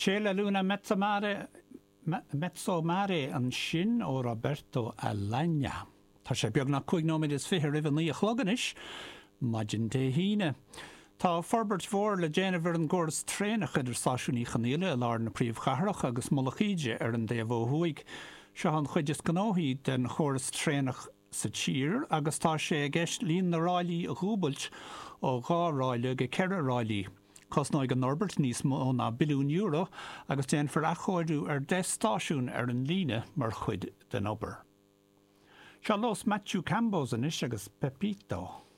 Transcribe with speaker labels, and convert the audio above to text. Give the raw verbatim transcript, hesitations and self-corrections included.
Speaker 1: C'è la luna mezzamare mezzo mare ansin ó Roberto Alagna. Tá sé beagnach cúig nóiméad is fiche roimh a naoi a chlog anois, maidin Dé hAoine. Tá forbairt mhór le déanamh ar an gcóras traenach idir Stáisiún Uí Chonghaile i lár na príomhchathrach agus Mullach Íde ar an dtaobh ó thuaidh. Seo an chuid is gnóthaí den chóras traenach sa tír agus tá sé i gceist líon na ráillí a dhúbailt ó dhá ráille go ceithre ráillí. Cosnóidh an fhorbairt níos mó ná billiún euro agus déanfar athchóiriú ar deich stáisiún ar an líne mar chuid den obair. Seo Los Machucambos anois agus Pepito.